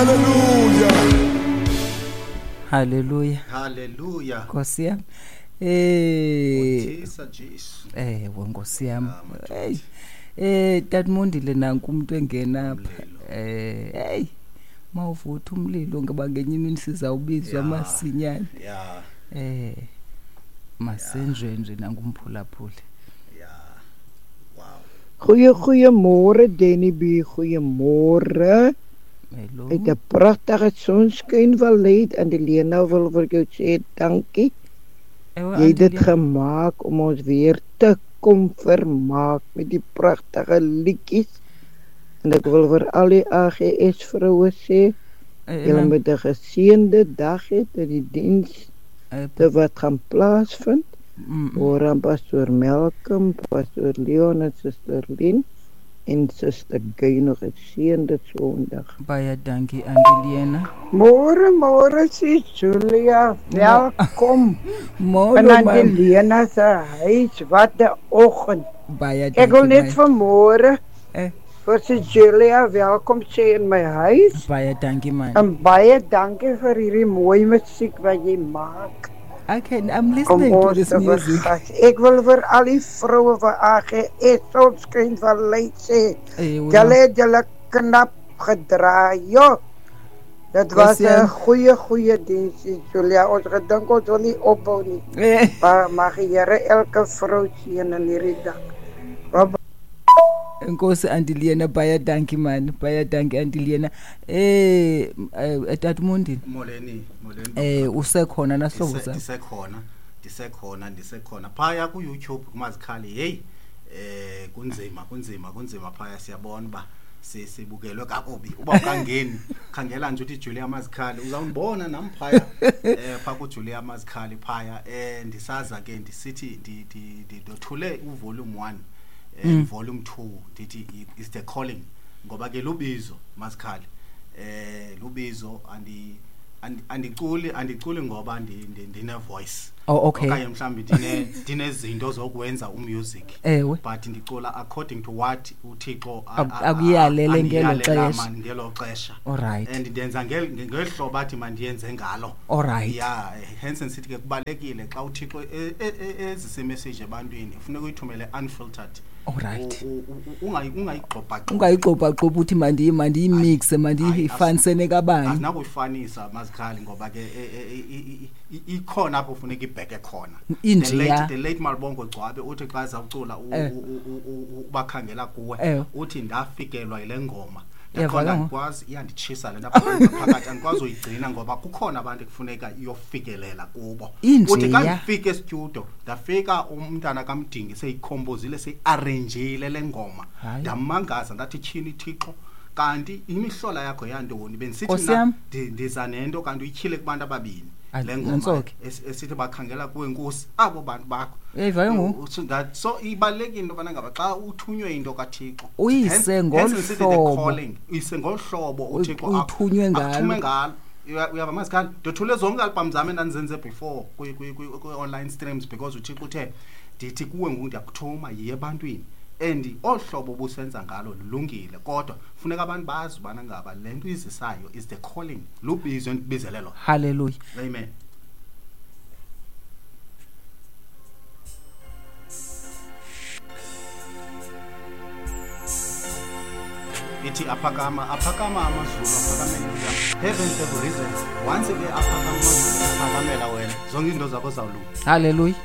Hallelujah. Hallelujah. Hallelujah. Nkosi yam. Uthisa Jesu. Ewe Nkosi yam. Hey. Tatmondile nanku umuntu engena apha. Hey. Mawuvutha umlilo ngoba ngenye imini sizawubizwa masinyane. Masenjenje nangumphulaphuli. Wow. Goeiemôre Danny B, goeiemôre. Hallo. Uit 'n pragtige sonskynvallei en die Lena wil vir jou sê dankie. Ewe, Jy het dit Andelia. gemaak om ons weer te kom vermaak met die pragtige liedjies. En ek wil vir al die AGS vroue sê, julle moet 'n geseënde dag hê tot die diens te wat gaan plaasvind. Hoor aan Pastoor Malcolm, Pastoor Leon en Suster Lien en Suster Gay nog 'n geseënde Sondag. Baie dankie Andelena. Môre, môre sis Julia, welkom. Môre, In ma'am. Andelena se huis, wat 'n oggend. Baie Ek wil dankie, net my. vanmôre vir sis Julia welkom sê in my huis. Baie dankie man. En baie dankie vir hierdie mooi musiek wat jy maak. Okay, I'm listening Om to ons this te music. vergas. Ek wil vir al die vroue van AGS Sonskynvallei sê, Ewe. julle het julle knap gedraai, joh. Dit was Kosie. 'n goeie, goeie diens, Julia. Ons gedink ons wil nie opbou nie. Maar mag die Here elke vrou seën in hierdie dag. Bye-bye. Enkosi Antilena, baie dankie man, baie dankie Antilena. Tatmondini. Molweni, molweni. Usekhona nasihlobo sami. Ndisekhona. Phaya ku YouTube kumazikhali, hey, kunzima, kunzima, kunzima phaya, siyabona uba sibukelwe kakubi. Uba ukangeni, khangela nje uthi Julia Mazikhali, uzawundibona nam phaya, pha ku Julia Mazikhali phaya. Ndisaza ke ndisithi ndothule u volume 1, volume 2, ndithi is the calling, ngoba ke lubizo Mazikhali. Lubizo, andiculi ngoba ndine voice. Oh, okay. Okanye mhlambi ndinezinto zokwenza umusic. Ewe. But ndicula according to what uThixo akuyalele ngelo andiyalele xesha. man ngelo xesha. All right. And ndenza ngeli hlobo athi mandiyenze ngalo. All right. Yeah, hence sithi ke kubalekile xa uThixo ezise message ebantwini, kufuneka uyithumele unfiltered. All right. Ungayigxobha-gxobhi. Ungayigxobha-gxobhi uthi mandiyimixe, mandiyifanise nekabani. Asinakuyifanisa Mazikhali ngoba ke ikhona apho ufuneka ibheke khona. Injeya. The late Malibongo Gcwabe uthi xa ezawucula ubakhangela kuwe, uthi ndafikelwa yile ngoma. Uyavakala Ndakhona ngoku? andikwazi, iyanditshisa le nto apha phakathi, andikwazi uyigcina ngoba kukhona abantu ekufuneka iyofikelela kubo. Injeya. Uthi xa ndifika estudio, ndafika umntana kaMdingi seyikhombozile, seyiarrangeile le ngoma. Hayi. Ndamangaza ndathi tyhini Thixo, kanti imihlola yakho yantoni? Bendisithi Nkosi mna yam. ndiza nento kanti uyityhile kubantu ababini. Ay, Le ngoma nantso ke. esithi bakhangela kuwe Nkosi, abo bantu bakho. Uyayiva ke ngoku? So ibalulekile into yobana ngaba xa uthunywe into kaThixo, Uyise hence sithi the ngolu hlobo. calling, uyise ngolu hlobo uThixo Uyithunywe ngalo. akuthume ngalo. Uyava Mazikhali, ndothule zonke album zam endandizenze before kwi-online streams because uThixo uthe ndithi kuwe ngoku ndiyakuthuma, yiye ebantwini. And olu hlobo obusenza ngalo lulungile, kodwa funeka abantu bazi ubana ngaba le nto uyizisayo is the calling, lubizo endibizele lona. Hallelujah. Amen. Ithi aphakama, aphakama amazulu, aphakamela wena. Heavens have risen. Once ke aphakama amazulu, aphakamela wena. Zonke izinto zakho zawulunga. Hallelujah.